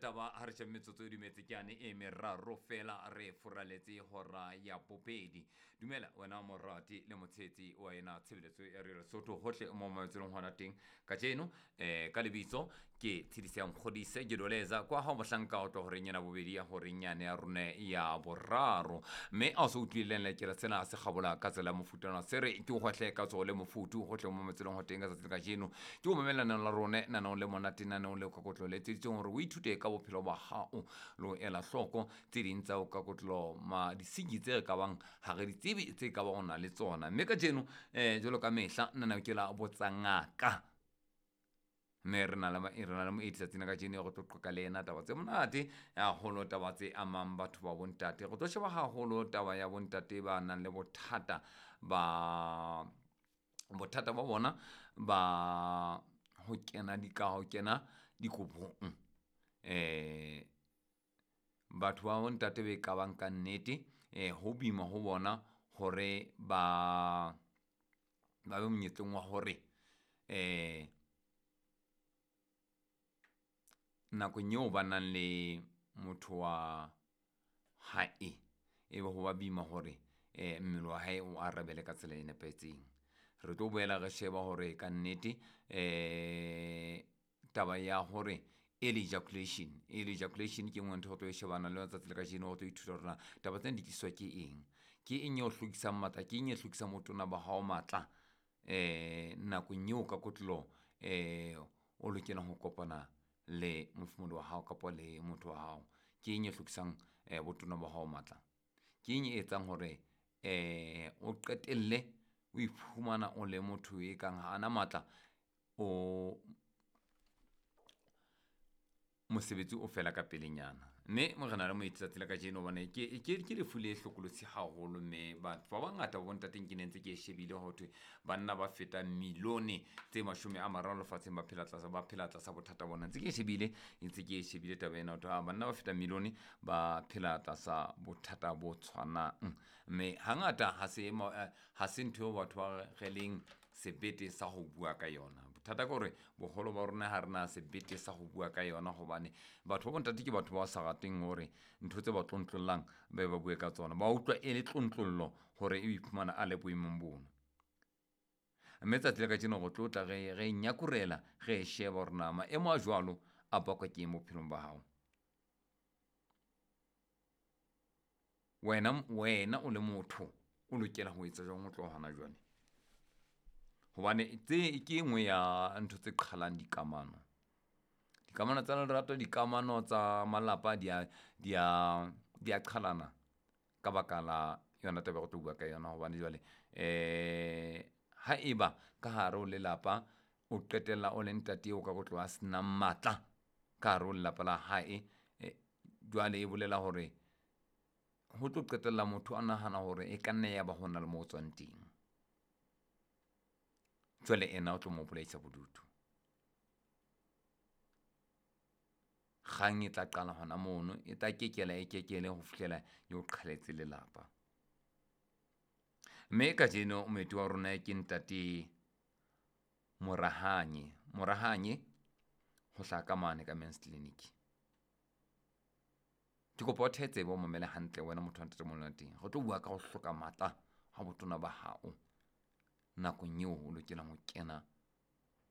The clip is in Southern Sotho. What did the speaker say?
taba ha re shebe metsotso e dumetse ke yane e meraro fela re furaletse hora ya bobedi. Dumela wena morati le motshehetsi wa ena tshebeletso ya Radio Lesotho hohle mo mametselong hona teng kajeno. Ka lebitso ke Tshedise ya Nkgodise, ke doleza kwa ha mohlanka o tlo horeng ena bobedi ya horeng yane ya rona ya boraro. Mme a o se utlwileng lekela sena se kgabola ka tsela ya mofutana se re ke o hwahle ka tsoho le mofuthu hohle mo mametselong ho teng ka tsatsi le kajeno. Ke o mamela lenaneo la rona, lenaneo le monate, lenaneo le kakotlo le etseditsweng hore o ithute ka bophelo ba hao le ho ela hloko tse ding tsa o kakotlo ma disenyi tse re ka bang ha re di tsebe tse ka bang o na le tsona. Mme kajeno jwalo ka mehla nna ke la botsa ngaka, mme re na le moeti tsatsing la kajeno re tlo qoqa le yena taba tse monate haholo, taba tse amang batho ba bontate. Re tlo sheba haholo taba ya bontate ba nang le bothata ba bona ba ho kena ho kena dikobong. Batho ba bontate be ka bang ka nnete ho boima ho bona hore ba be monyetleng wa hore nakong eo ba nang le motho wa hae e be ho ba boima hore mmele wa hae o arabele ka tsela e nepahetseng. Re tlo boela re sheba hore ka nnete taba ya hore early ejaculation, early ejaculation ke nngwe ntho re tlo e shebana le letsatsi le kajeno. Re tlo ithuta hore na taba tsena di tliswa ke eng, ke eng e o hlokisang matla, ke eng e hlokisang botona ba hao matla nakong eo ka kotloloho o lokelang ho kopana le mofumahadi wa hao kapa le motho wa hao. Ke eng e hlokisang botona ba hao matla, ke eng e etsang hore o qetelle o iphumana o le motho e kang ha ana matla, o mosebetsi o fela ka pelenyana. Mme morena le moeti tsatsi la kajeno hobane ke lefu le hlokolosi haholo, mme batho ba bangata ba bontateng ke ne ntse ke e shebile ho thwe banna ba fetang milione tse 30 lefatsheng ba phela tlasa bothata bona. Ntse ke e shebile taba ena ho thwe banna ba fetang milione ba phela tlasa bothata bo tshwanang. Mme hangata ha se ntho eo batho ba re leng sebete sa ho bua ka yona. Bothata ke hore boholo ba rona ha rena sebete sa ho bua ka yona, hobane batho ba bontate ke batho ba sa rateng hore ntho tse ba tlontlollang ba ba bue ka tsona, ba utlwa e le tlontlollo hore e iphumana a le boemong bono. Mme tsatsi la kajeno re tlo tla re nyakurela re sheba hore na maemo a jwalo a bakwa ke eng bophelong ba hao. Wena o le motho o lokela ho etsa jwang ho tloha hona jwale, hobane tse ke nngwe ya ntho tse qhalang dikamano, dikamano tsa lerato, dikamano tsa malapa di a qhalana ka baka la yona taba re tlo bua ka yona. Hobane jwale ha eba ka hare ho lelapa o qetella o le ntate eo ka go tloha senang matla ka hare ho lelapa la hae, jwale e bolela hore ho tlo qetella motho a nahana hore e ka nna ya ba hona le mo tswang teng. Jwale ena o tlo mo bolaisa bodutu. Kgang e tla qala hona mono, e tla kekela e kekele ho fihlela e o qhaletse lelapa. Mme kajeno moeti wa rona ke ntate Morahanye. Morahanye ho hlaha ka mane ka Men's Clinic. Ke kopa o thetse bo mamele hantle wena motho wa ntate mona teng. Re tlo bua ka ho hloka matla ha botona ba hao nakong eo o lokelang ho kena